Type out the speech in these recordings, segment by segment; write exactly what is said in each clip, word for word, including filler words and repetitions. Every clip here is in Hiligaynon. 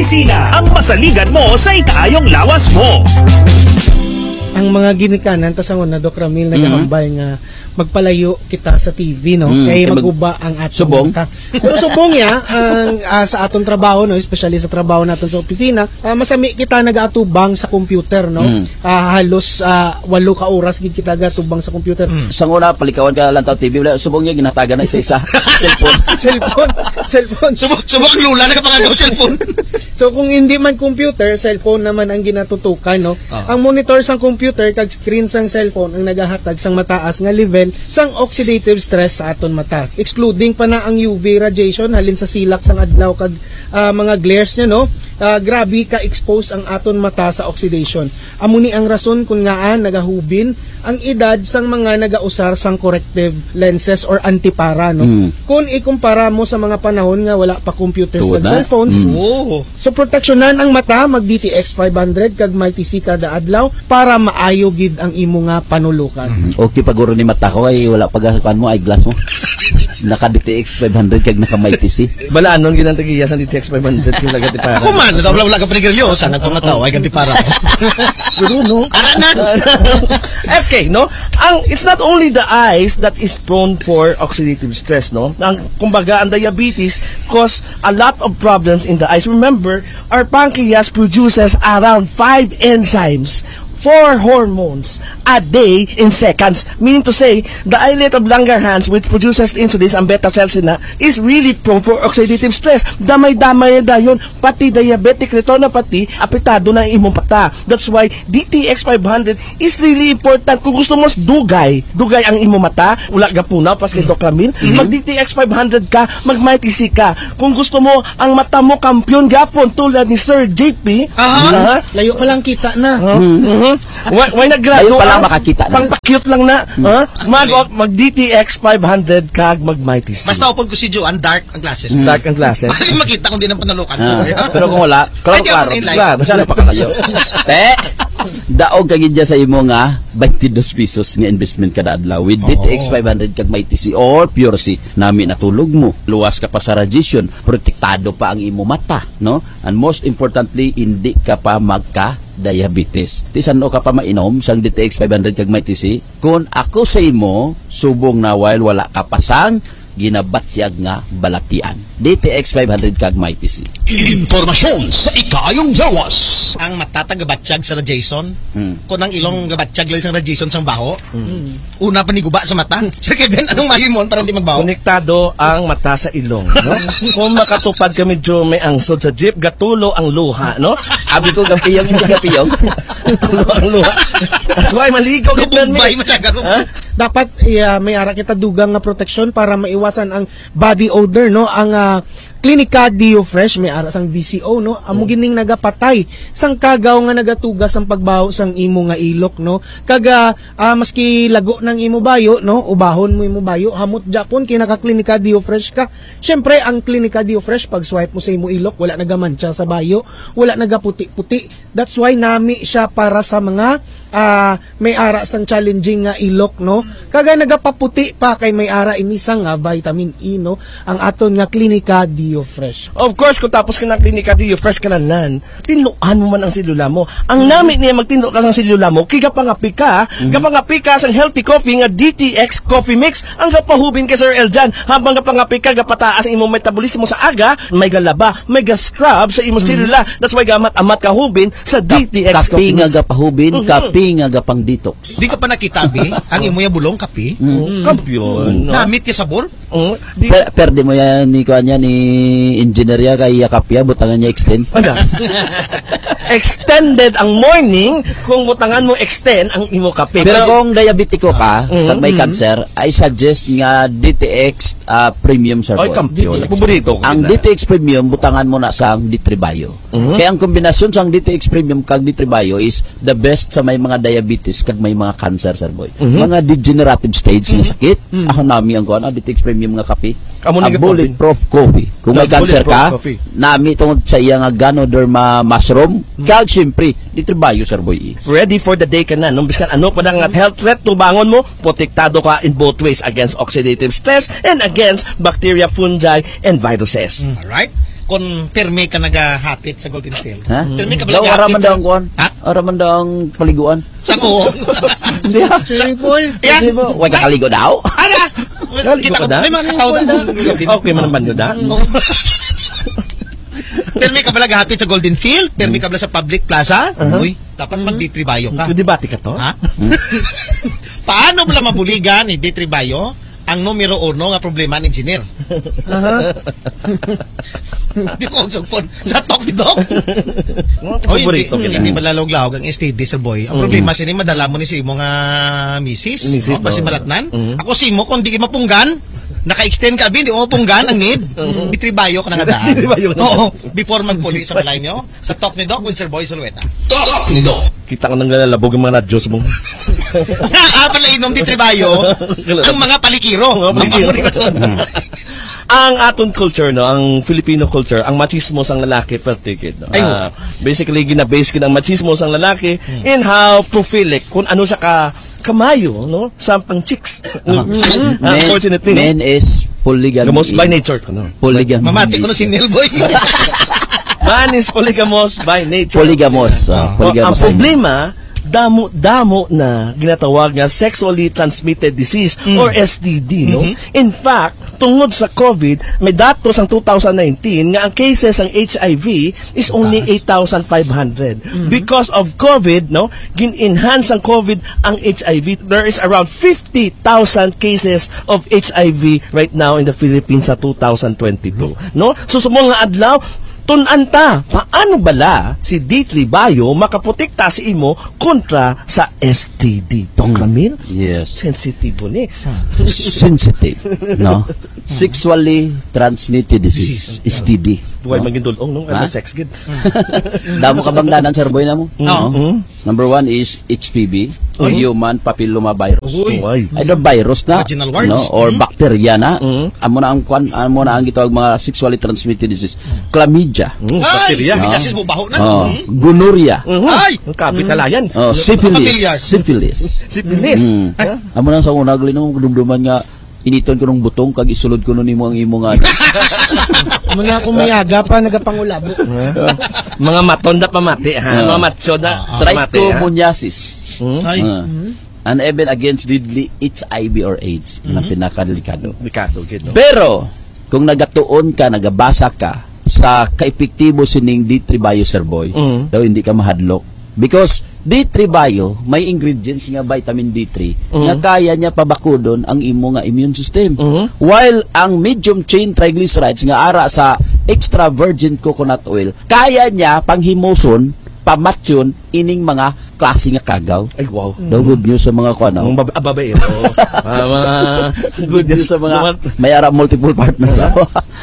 Sina ang masaligan mo sa ikaayong lawas mo? Ang mga ginikanan, ta sangon na, Doc Ramil, Mm. nagahambal nga magpalayo kita sa T V, no? Mm, Kay kay mag-, maguba ang atong subong. mata. Pero subong ya, ang, ah, sa aton trabaho, no? Especially sa trabaho naton sa opisina, ah, masami kita nagaatubang sa computer, no? Mm. Ah, halos, ah, walo ka oras gid kita gatubang sa computer. Mm. Sa una, palikawan ka lang tao T V, wala, subong niya, ginatagan na isa-isa. Cellphone. Cellphone. Cellphone. Subong, subong ang lula, nagapangagaw cellphone. So, kung hindi man computer, cellphone naman ang ginatutukan, no? Ah. Ang monitor sang computer kag screen sang cellphone ang nagahatag sang mataas nga level sang oxidative stress sa aton mata. Excluding pa na ang U V radiation halin sa silak sang adlaw kag, ah, mga glares niya, no? Ah, grabe ka-expose ang aton mata sa oxidation. Amo ni ang rason kung ngaa nagahubin ang edad sang mga nagausar sang corrective lenses or antipara, no? Mm. Kung ikumpara mo sa mga panahon nga wala pa computers Tuod kag na. cellphones, Mm. Oo. So, proteksyonan ang mata, mag D T X five hundred kag Mighty C kada adlaw para maayo gid ang imo nga panulukan. Mhm. Okay pa guro ni mata ko, ay wala pa ga-, kuan mo, eyeglass mo. Naka D T X five hundred kag naka Mighty C. Bala, anong ginang tagiya sa D T X five hundred yung lagat ni para? Ako man, wala, wala ka panigarilyo, sana pamataw, ay ganti para. Pero no. Ara na. Okay, no? Ang, it's not only the eyes that is prone for oxidative stress, no? Ang, kumbaga, ang diabetes cause a lot of problems in the eyes. Remember, our pancreas produces around five enzymes, four hormones a day in seconds. Meaning to say, the islet of Langerhans, which produces insulin, ang beta cells na, is really prone for oxidative stress. Damay-damay na dayon, pati diabetic retinopathy, apektado na ang imong mata. That's why D T X five hundred is really important. Kung gusto mo mas dugay, dugay ang imo mata, wala gapunaw, pas kay Doc Ramil, Mhm. mag D T X five hundred ka, mag Mighty C ka. Kung gusto mo ang mata mo kampiyon gapon tulad ni Sir J P, Aha. ha? Layo pa lang kita na. Ha? Mhm. Why, why naggrado Layo pa lang ka? makakita na. Pang pa-cute lang na. Mhm. Ha? Mag, mag D T X five hundred kag mag Mighty C. Basta upod ko si Joan, dark ang glasses. Mm. Dark ang glasses. Basta yung makita kung di nang panalukan Ah, ko. pero kung wala, klaro, Ay, di ako klaro. na-enlighten. Klaro, saan pa kalayo? Te, daog ka gid dyan sa imo nga twenty-two pesos nga investment kada adlaw with Oo. D T X five hundred kag Mighty C or Pure C. Nami natulog mo. Luwas ka pa sa radiation. Protektado pa ang imo mata, no? And most importantly, hindi ka pa magka-diabetes. Ti san-o ka pa mainom sang D T X five hundred kag Mighty C? Kung ako sa imo, subong na while wala ka pa sang ginabatyag nga balatian. D T X five hundred kag Mighty C. Impormasyon sa ikaayong lawas. Ang mata ta gabatyag sa radiation. Hmm. Kung ang ilong gabatyag lang sa radiation sang baho, Hmm. una pa ni guba sa mata. Sir Kevin, anong malimon para hindi magbaho? Konektado ang mata sa ilong, no? Kung makatupad ka medyo may angsod sa jeep, gatulo ang luha, no? Abi ko, gapiyong, hindi gapiyong. Gatulo ang luha. That's why maligo kita, Gubumbay, mi. Masyado. Ha? Dapat, iya, may ara kita dugang nga proteksyon para maiwasan ang body odor, no? Ang, ah, Clinica Deo Fresh, may ara sang V C O, no? Amo Oh. gining nagapatay sang kagaw nga nagatugas ang pagbaho sang imo nga ilok, no? Kag, ah, ah, maski lago nang imo bayo, no? Ubahon mo imo bayo, hamot japon kay naka Clinica Deo Fresh ka. Siyempre, ang Clinica Deo Fresh, pag swipe mo sa imo ilok, wala nagamantsa sa bayo, wala nagaputi-puti. That's why nami siya para sa mga, ah, may ara sang challenging nga ilok, no? Kaga nagapaputi pa kay may ara ini sang, ah, vitamin E, no? Ang aton nga Clinica Deo Fresh. Of course, kung tapos ka ng Clinica Deo Fresh ka na nan, tinluan mo man ang selula mo. Ang nami niya magtinlo ka sang selula mo, kay gapangapi ka, Mhm. gapangapi ka sang healthy coffee nga D T X Coffee Mix. Ang gapahubin kay Sir Eljan, habang gapangapi ka, gapataas ang imong metabolismo sa aga, may galaba, may ga-scrub sa imong Mhm. selula. That's why gamat-amat ka hubin sa Kap-, D T X kape Coffee nga Mix. gapahubin, Mhm. kape nga gapang-detox. Di ka pa nakita, bi? Ang imo ya bulong, kape? Mm. Oh, kampiyon, no? Namit ya sabor? Oh, di Per-, perde mo yan ni, kuan yan, ni engineer ya, kay yakap ya, butangan niya extend. Ano? Extended ang morning kung butangan mo extend ang imo kape. Pero Pwede. kung diabetiko ka, Mm. kag may Mm. cancer, I suggest nga D T X, ah, Premium, Sir Ay, Boy. kampiyon. D T X. Paborito ko Ang gid na. D T X Premium, butangan mo na sang D three Bio. Mhm. Kaya ang kombinasyon sang D T X Premium kag D three Bio is the best sa may mga diabetes kag may mga cancer, Sir Boy. Mhm. Mga degenerative stage nga Mhm. sakit, Mhm. ako nami ang kuan, ah, D T X Premium nga kape. Amo ni Ang kape. Bulletproof Coffee. Kung The may cancer Bulletproof ka, Coffee. nami tungod sa iya nga Ganoderma mushroom, Mhm. kag siyempre, D three Bio, Sir Boy. Ready for the day ka na, no? Biskan ano pa na nga health threat, tubangon mo, protektado ka in both ways against oxidative stress and against bacteria, fungi, and viruses. Mm. Alright. Kung pirmi ka nagahapit sa Golden Field. Ha? Pirmi ka ba Daw, ara man nagahapit daw sa ang kuwan. Ha? Ara man daw ang paliguan. Sa ko. Hindi, ha? Swimming pool. Yeah. Hindi mo. Wala ka kaligo daw? Ara! Naligo Kita ka ko, daw? May mga katawa na. Okay man ang banyo da. Oo. Pirmi ka ba nagahapit sa Golden Field? Pirmi ka ba sa public plaza? Uh-huh. Uy, dapat mag D three Bio ka. Debate ka to? Ha? Paano mo lang mabuligan ni D three Bio ang numero uno nga problema ni engineer? Aha. Di ko magsugpon. Sa talk ni Doc. Mga Oy, paborito hindi, ko hindi yan. Malalawag-lawag ang S T D, sir boy. Ang Mm. problema, sini madala mo ni sa imo nga misis. Misis, No? Basi no? malatnan. Mm. Ako si mo, kung di mapunggan, naka-extend ka, abi, di mo mapunggan ang need. Mm. Di tribayo ka na nga daan. Di tribayo ka na. Oo, before magpuli sa balay nyo, sa talk ni Doc with Sir Boy Zulueta. Talk ni Doc. Kita ka nang nalalabog ang mga radyos mo. Ah, pala inom di tribayo, ang mga palikiro. Mga palikiro. Ang mga palikiro. Ang aton culture, no, ang Filipino culture, ang machismo sang lalaki, pertikid, no? Ay, Ah, basically, gina-base gid ang machismo sang lalaki Hmm. in how prolific, kung ano siya ka kamayo, no, sa pang chicks. Ah. Unfortunately, no? Men is polygamy. Gamos by nature, no? Polygamy. Mamati ko na si Neil Boy. Man is polygamous by nature. Polygamous, ah, Ah. polygamous. Oh, ang problema, damo-damo na ginatawag nga sexually transmitted disease Mm. or S T D, no? Mhm. In fact, tungod sa COVID, may datos ang two thousand nineteen nga ang cases sang H I V is only Taas. eight thousand five hundred. Mhm. Because of COVID, no, gin-enhance ang COVID ang H I V. There is around fifty thousand cases of H I V right now in the Philippines sa two thousand twenty-two, no? So, sa mga adlaw, tun-an ta, paano bala si D three Bio makaprotekta sa imo kontra sa S T D? Doc Hmm. Ramil? Yes. Sensitibo ni. Sensitive, no? Sexually transmitted disease, Disease. S T D. Buhay No? maging dulong, no? Ha? Ano, sex gid. Damo ka bang danan, Sir Boy, na mo? Oo. No? Mm. Number one is H P V, or Ay. human papilloma virus. Uy. Ay. Ay, the virus na. Vaginal warts. No? Or Mm. bacteria na. Mm. Amo na ang kwan, amo na ang gitawag mga sexually transmitted disease. Chlamydia. Mm, Ay! bacteria. May No? chassis mo baho na. Oh, Mm. gonorrhea. Mhm. Ay! Ang kapit Mm. halayan. Oh, syphilis. Familiar. Syphilis. Syphilis. Mm. Ha? Amo na sa una, gali nung dumduman nga, initon ko nung butong, kag isulod ko nun imo ang imo nga. Muna akong miyaga pa, nagapangulabo. Ha? Mga maton na pamati, ha? Ah. Mga macho na Ah, ah. pamati, ha? Trichomoniasis. Hmm? Ay. Ah. Mm. An event against deadly H I V or AIDS, na Mhm. pinakadelikado. Delikado, gid, no? Pero, kung nagatuon ka, nagabasa ka sa kaepektibo sining D three Bio, Sir Boy, Mm. daw hindi ka mahadlok. Because D three Bio, may ingredients nga vitamin D three Mm. nga kaya niya pabakudon ang imo nga immune system. Mm. While ang medium chain triglycerides nga ara sa extra virgin coconut oil, kaya niya panghimuson, pamatyon ining mga klase nga kagaw. Ay, wow. Daw good news sa mga kuan, oh. Ang bab-, ah, babaero. Ah, mga Good news sa mga mga may ara multiple partners.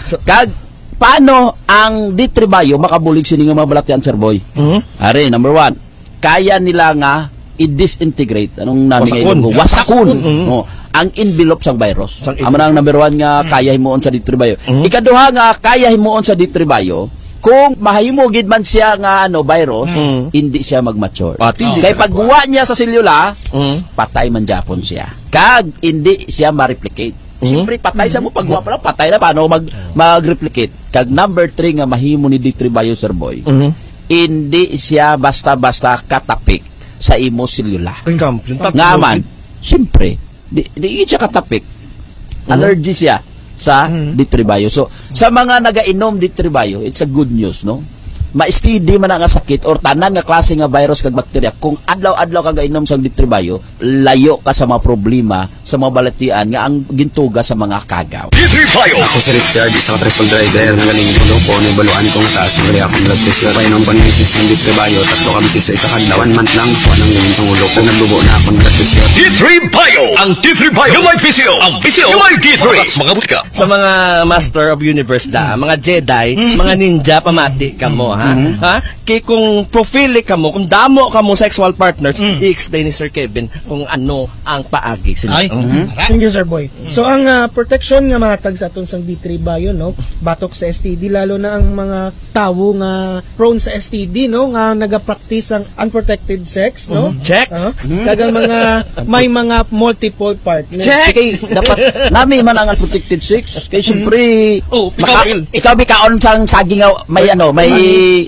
So, Kag paano ang D three Bio makabulig sini nga mga balatian, Sir Boy? Mhm. Ari, number one, kaya nila nga i-disintegrate. Anong nami nga Wasakon. Ilonggo? Wasakon. Mhm. Oh, ang envelope sang virus. Sang Amo na ang envelope. number one nga kaya himuon sa D three Bio. Mhm. Ikaduha nga kaya himuon sa D three Bio, kung mahimo gid man siya nga, ano, virus, Mhm. hindi siya mag-mature. Ah, hindi Kay ka pagwa niya sa selula, Mhm. patay man gyapon siya. Kag hindi siya ma-replicate. Mhm. Siyempre, patay siya mo. Pagwa pa lang, patay na. Paano mag-, mag-replicate? Kag number three nga mahimo ni D three Bio, Sir Boy, Mhm. hindi siya basta-basta katapik sa imo selula. Ang kampiyon, tatlo Nga man, gid. siyempre, di, di gid siya katapik. Mhm. Allergy siya sa Mhm. D three Bio. So, sa mga nagainom D three Bio, it's a good news, no? Ma-S T D man na nga sakit or tanan nga klase nga virus kag bakterya, kung adlaw-adlaw ka gainom sang D three Bio, layo ka sa mga problema, sa mga balatian nga ang gintuga sa mga kagaw. D three Bio. Ako si Richard, isa ka tricycle driver nga galing Buluco. Nabaluan ko nga taas ang gali akong blood pressure. Painom ko ni misis ng D three Bio, tatlo ka beses sa isa ka adlaw. One month lang, wala nang galing sa ulo ko. Naglubo na akong blood pressure. D three Bio. Ang D three Bio. Gamay P C O. Ang P C O. Gamay D three. Mga butika. Sa mga Master of Universe da, mga Jedi, mga ninja, pamati ka mo, ha? Mhm. Ha? Kay kung prophilic kamo, kung damo kamo sexual partners, Mm. i-explain ni Sir Kevin kung ano ang paagi sila. Ay, Mhm. tara. Thank you, Sir Boy. So, ang, ah, protection nga mahatag sa aton sang D three Bio, no? Batok sa S T D, lalo na ang mga tawo nga prone sa S T D, no? Nga nagapractice ang unprotected sex, no? Mhm. Check. Ah, Mhm. Kag ang mga, may mga multiple partners. Check. Kay dapat nami man ang unprotected sex. Kay siyempre, Oh, ikaw, maka-, Phil. ikaw mikaon sang saging nga may ano, may,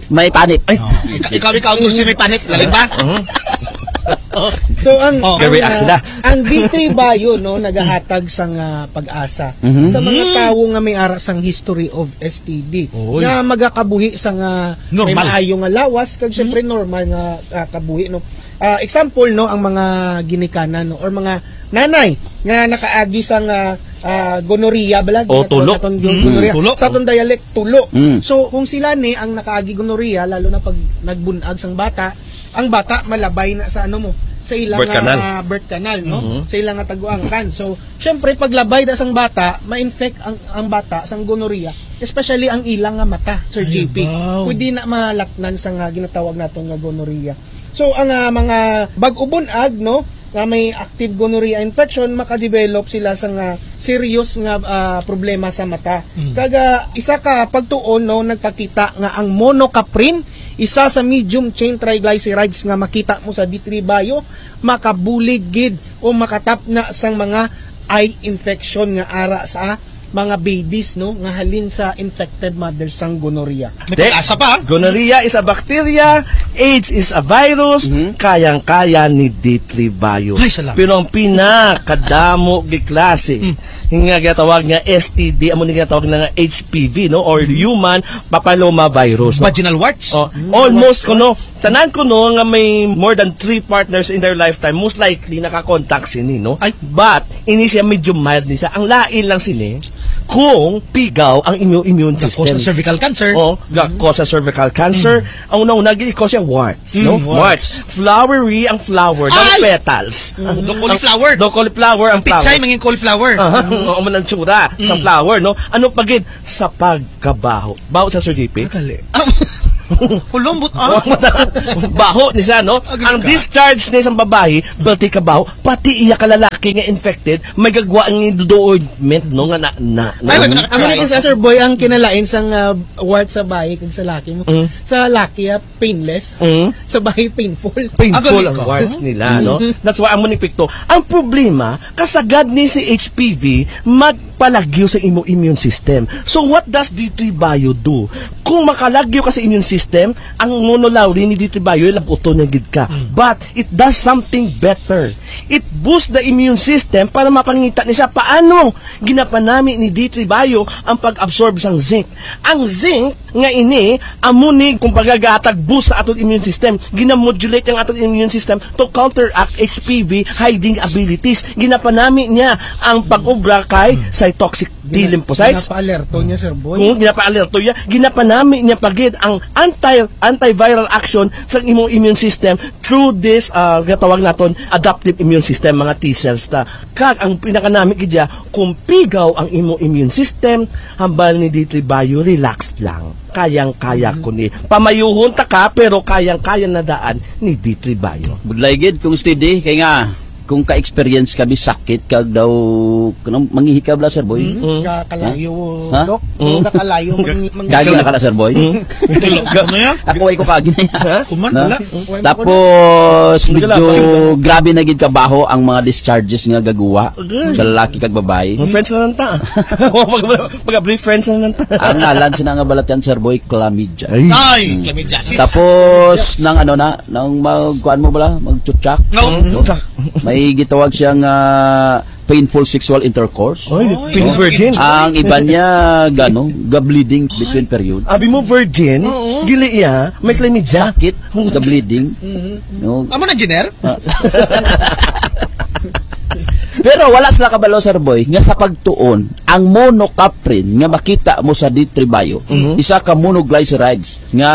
may panit. Ay. Oh, ika-, ikaw, ikaw, Tulsi, may panit. Lalim ba? Mhm. So, ang, Oh. ang, Gawi ah, sila. ang D three Bio, no, nagahatag sang, ah, pag-asa Mhm. sa mga Mm. tawo nga may ara sang history of S T D Oy. nga magakabuhi sang, ah, may Normal. maayo nga lawas, kag syempre Mhm. normal nga, ah, kabuhi, no. Ah, example, no, ang mga ginikanan, no, or mga nanay nga nakaagi sang, ah, ah, gonorrhea, bala, Oh, ginatawag tulo. naton gon-, Mm. gonorrhea. Tulo. Sa aton dialect, tulo. Mm. So, kung sila ni ang nakaagi gonorrhea, lalo na pag nagbunag sang bata, ang bata malabay na sa ano mo, sa ilang, Birth canal. ah, birth canal, no? Mhm. Sa ilang nga taguangkan. So, syempre, paglabay na sang bata, ma-infect ang, ang bata sang gonorrhea, especially ang ilang nga mata, Sir Ay, J P. Wow. Pwede na malatnan sa nga ginatawag naton nga gonorrhea. So, ang, ah, mga bag-o bunag, no, nga may active gonorrhea infection, makadevelop sila sa nga serious nga, ah, problema sa mata. Mm. Kag, ah, isa ka pagtuon, no, nagpakita nga ang monocaprin, isa sa medium chain triglycerides nga makita mo sa D three Bio, makabulig gid o makatapna sang mga eye infection nga ara sa mga babies, no, nga halin sa infected mothers sang gonorrhea. May Te, pag-asa pa. Gonorrhea is a bacteria, AIDS is a virus, Mhm. kayang-kaya ni D three Bio. Ay, salamat. Pero ang pinakadamo gi klase Mm. nga ginatawag nga S T D, amo ni ginatawag na nga H P V, no, or Mm. human papilloma virus, no? Vaginal warts? Oh, Mm. almost Warts, kuno, warts. Tanan kuno nga may more than three partners in their lifetime, most likely nakakontak sini, no? Ay. But, ini siya medyo mild ni siya. Ang lain lang sini, kung pigaw ang inyong immune Ga-cause system. Ng cervical cancer. Oh, ga-cause ng cervical cancer. Mm. Ang una-una, gi-cause siya warts, Mm, no? warts. Warts. Flowery ang flower, the Ay! Petals. Mm, do cauliflower. Do cauliflower ang Pichay, flowers. Mangin cauliflower. Aha, Mm. oo, man ang tsura sa Mm. flower, no? Ano pa gid? Sa pagkabaho. Baho sa, Sir J P? Akali. Hulong but, ah. Baho ni siya, no? Ang discharge ni isang babayi, balti ka baho, pati iya ka lalaki nga infected, may gagwa ang iduduod, no, nga na, na, na. Ay, wag na. Ang isa, Sir Boy, ang kinalain sang, ah, wart sa bayi kag sa laki mo. Mm. Sa laki, ah, painless. Mm. Sa bayi, painful. Painful ang warts nila, no? Mm. That's why amo ni epekto. Ang problema, kasagad ni si H P V, mag palagyo sa imo immune system. So, what does D three Bio do? Kung makalagyo ka sa immune system, ang monolaurin ni D three Bio, labuton niya gid ka. Mm. But it does something better. It boosts the immune system para mapangita ni siya paano ginapanami ni D three Bio ang pag-absorb sang zinc. Ang zinc nga ini, amo ni, kumbaga, gahatag boost sa aton immune system. Ginamodulate ang aton immune system to counteract H P V hiding abilities. Ginapanami niya ang pag-obra kay Hmm. cytoxic T Gina-, lymphocytes. Ginapaalerto niya, Sir Boy. Kung ginapaalerto niya, ginapanami niya pa gid ang anti-, antiviral action sa imong immune system through this, ah, gatawag naton adaptive immune system, mga T cells ta. Kag ang pinakanami gid niya, kung pigaw ang imo immune system, hambal ni D three Bio, relax lang. Kayang-kaya Mhm. ko ni. Pamayuhon ta ka, pero kayang-kaya na daan ni D three Bio. Budlay gid kung steady, kay nga, kung ka-experience kami sakit, kag daw, kanang mangihi ka bala, Sir Boy? Mhm. Mm. Ka-, kalayo, Ha? Doc. Mm. Ka-, kalayo, mangi-, mangi- Kagi na ka na, Sir Boy? Mm. Ako ay ko kagi na yan. Ha? Kuman, Na? Wala. Tapos, Hindi ka medyo lang. Grabe na gid kabaho ang mga discharges nga gagawa Okay. sa lalaki kag babae. Mga friends na lang ta. Mag-, mag-, mag-, friends na lang ta. Ang ngalan sina nga balatian, Sir Boy, chlamydia. Ay. Ay, Hmm. chlamydiasis. Tapos, nang ano na, nang magkuan mo bala, magchutsak. No. Hmm. May gitawag siya nga painful sexual intercourse. Oy, Oy. Pin virgin. Ang iba niya, gano, ga-bleeding between period. Abi mo virgin, Oo. Gili iya, may chlamydia. Sakit, ga-bleeding. Mhm. No? Amo na, Engineer? Ah. Pero wala sila kabalo, Sir Boy, nga sa pagtuon, ang monocaprin nga makita mo sa D three Bio, Mhm. isa ka monoglycerides nga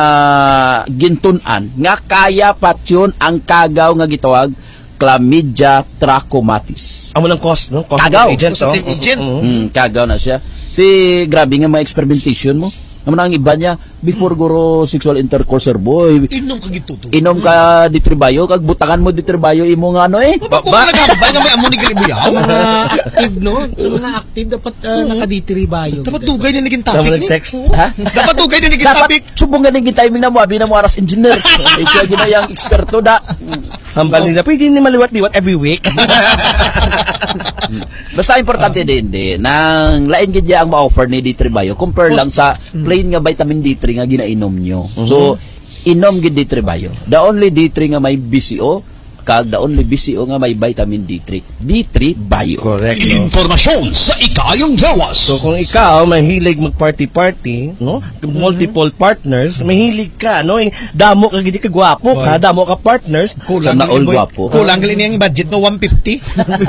gintun-an nga kaya patyon ang kagaw nga gitawag chlamydia trachomatis. Amo nang cause, no? Cause Kagaw. Agent, Causative no? Agent. Mhm. Mm, kagaw na siya. Ti, grabe nga mga experimentation mo. Amo na ang iba niya, Before guro sexual intercourse, sir boy, Inom ka gituto. Inom ka D three Bio, kag butangan mo D three Bio imo nga ano eh. Ba, ba? Nagambay nga may amo ni Galibuyaw. Sa mga active, no? Sa mga active, dapat, ah, Oo. naka-D three Bio. Dapat dugay na naging Tama topic ni. nag-text. Ha? Dapat dugay na naging Dapat topic. Subong nga naging timing na mo, abi na mo aras engineer. Isa gina yang eksperto da. Hambal nila, pwede ni maliwat-liwat every week. Basta importante din, din, nang lain gid niya ang ma-offer ni D three Bio, compare Post- lang sa Mm. plain nga vitamin D three nga ginainom nyo. Mhm. So, inom gid D three Bio. The only D three nga may B C O, kag the only B C O nga may vitamin D three. D three Bio. Correct, no? Impormasyon sa ikaayong lawas. So, kung ikaw mahilig mag-party-party, no? Mhm. Multiple partners, mahilig ka, no? Damo ka gid ka gwapo ka, Oy. damo ka partners. Kulang Sana gali all mo, gwapo. kulang gali niyang budget, no? One fifty.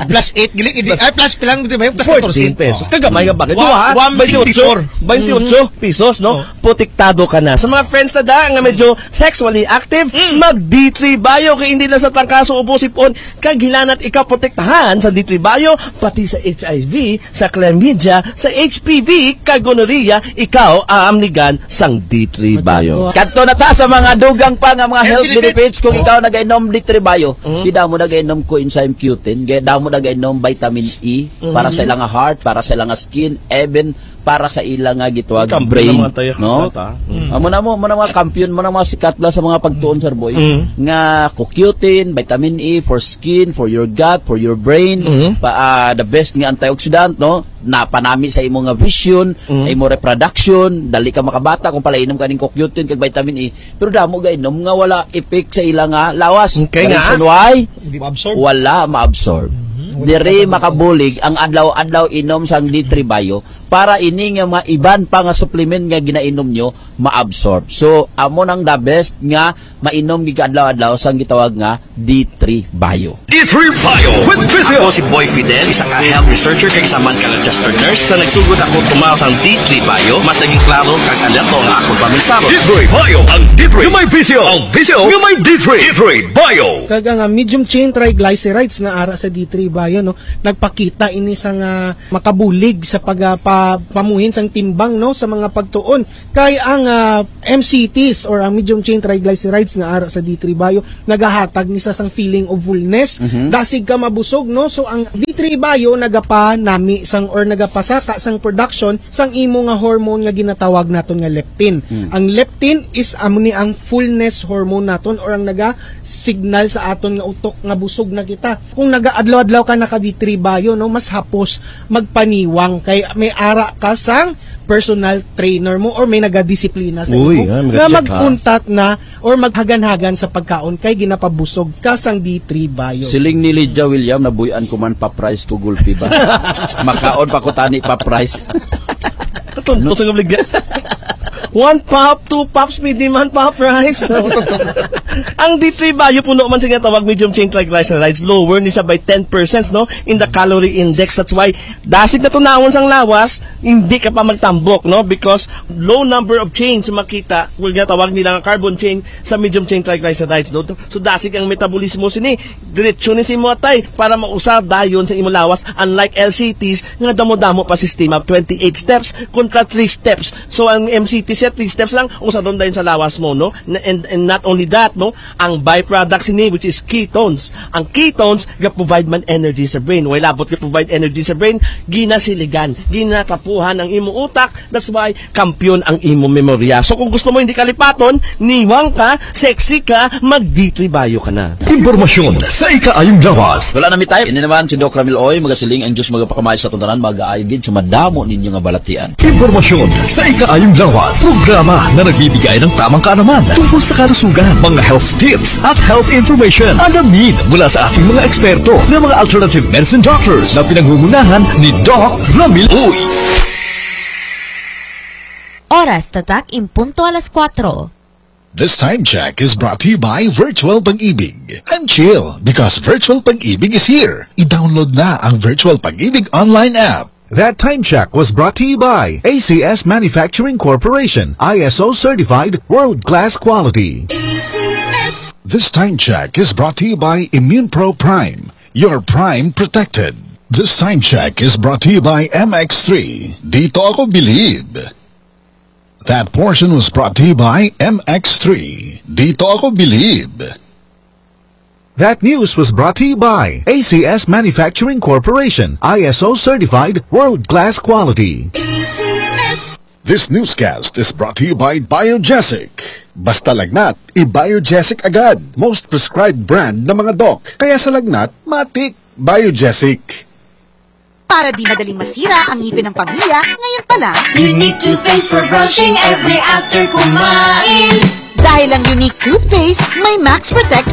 Plus eight gali, hindi, ay, plus, pilang, di ba? Plus fourteen pesos. Wow. Kagamay nga bagay. Wa-, Duha, one sixty-four. twenty-eight, twenty-eight pesos, no? Oh. Protektado ka na. Sa mga friends na da nga medyo sexually active, Mm. mag D three Bio kay hindi lang sa trangkaso o pusipon kag hilanat ikaw protektahan sa D three Bio, pati sa H I V, sa chlamydia, sa H P V, kag gonorrhea, ikaw aamnigan sang D three Bio. Kadto na ta sa mga dugang pa nga mga health Health benefits. benefits kung Oh. ikaw nagainom D three Bio. Mm. Di damo nagainom coenzyme Q ten, kay damo nagainom vitamin E para sa Mm. ilang heart, para sa ilang skin, even para sa ila nga gitawag Kampi brain, ng mga tayo no? Kasta, mm. Amo na mo, mo na mga kampiyon, mo na mga sikat lang sa mga pagtuon, sir boy, Mm. nga co Q ten, vitamin E for skin, for your gut, for your brain, Mm. pa, ah, the best nga antioxidant, no? Napanami sa imo nga vision, Mm. imo reproduction, dali ka makabata kung palainom ka ning co Q ten kag vitamin E. Pero damo gainom nga wala effect sa ila nga lawas. Okay The nga. reason why? Hindi ma-absorb. Wala ma-absorb. Mhm. Diri Wala makabulig ang adlaw-adlaw inom sang D three Bio para ini nga mga iban pa nga supplement nga ginainom nyo ma-absorb. So, amo nang the best nga mainom gid ka adlaw-adlaw sang gitawag nga D three Bio. D three Bio with Vision. Ako si Boy Fidel, isa ka health researcher kag isa man ka registered nurse. Sa nagsugod ako tumaw sang D three Bio, mas naging klaro kag alerto ang akong paminsaro. D three Bio, ang D three nga may Vision. Ang Vision nga may D three. D three Bio. Kag ang, ah, medium chain triglycerides nga ara sa D three Bio, no, nagpakita ini sa nga makabulig sa pag, ah, pa-, pamuhin sang timbang, no, sa mga pagtuon. Kay ang, ah, M C Ts or ang medium chain triglycerides nga ara sa D three Bio nagahatag ni sa sang feeling of fullness. Mhm. Dasig ka mabusog, no? So ang D three Bio nagapanami sang or nagapasaka sang production sang imo nga hormone nga ginatawag naton nga leptin. Hmm. Ang leptin is amo ni ang fullness hormone naton or ang naga-signal sa aton nga utok nga busog na kita. Kung nagaadlaw-adlaw ka naka D three Bio, no, mas hapos magpaniwang kay may ara ka sang personal trainer mo or may nagadisiplina sa Uy, imo ah, nga nag-check, ha? mag-untat na or maghaganhagan sa pagkaon kay ginapabusog ka sang D three Bio. Siling ni Lydia William, "Nabuy-an ko man pa price ko gulpi ba?" Makaon pa ko tani pa price. Katunto sa kabligya. One pop, two pops, may demand pa price. Ang D three Bio puno man sa ginatawag medium chain triglycerides, lower ni siya by ten percent, no, in the calorie index. That's why dasig na tunawon sang lawas, hindi ka pa magtambok, no? Because low number of chains makita, well, ginatawag nila nga carbon chain sa medium chain triglycerides, no? So, dasig ang metabolismo sini, diretso ni sa imo atay para mausar dayon sa imo lawas, unlike L C Ts nga damo-damo pa sistema, twenty-eight steps kontra three steps. So, ang M C T siya, three steps lang, usaron dayon sa lawas mo, no? Na-, and, and not only that, no? Ang byproduct sini, which is ketones. Ang ketones, ga-provide man energy sa brain. Way labot ga-provide energy sa brain, ginasiligan, ginakapuhan ang imo utak. That's why, kampiyon ang imo memorya. So, kung gusto mo hindi kalipaton, niwang ka, sexy ka, mag-D three Bio ka na. Impormasyon sa ikaayong lawas. Wala na mi time. Ini naman si Doc Ramil Oy, magasiling ang Diyos magapakamay sa tundanan, magaayo gid sa madamo ninyo nga balatian. Impormasyon sa ikaayong lawas. Programa na nagbibigay ng tamang kaalaman tungkol sa kalusugan, mga health tips at health information. Alamin mula sa ating mga eksperto na mga alternative medicine doctors na pinangungunahan ni Doc Ramil Uy. Oras tatak in punto alas kuwatro. This time check is brought to you by Virtual Pag-ibig. And chill, because Virtual Pag-ibig is here. I-download na ang Virtual Pag-ibig online app. That time check was brought to you by A C S Manufacturing Corporation, I S O certified, world-class quality. A C S. This time check is brought to you by Immune Pro Prime, your prime protected. This time check is brought to you by M X three. Dito ako bilib. That portion was brought to you by M X three. Dito ako bilib. That news was brought to you by A C S Manufacturing Corporation, I S O certified, world-class quality. A C S. This newscast is brought to you by Biogesic. Basta lagnat, i-Biogesic agad. Most prescribed brand na mga doc. Kaya sa lagnat, matik, Biogesic. Para di madaling masira ang ngipin ng pamilya, ngayon pa lang. Unique toothpaste for brushing every after kumain. Dahil ang Unique Toothpaste may Max Protect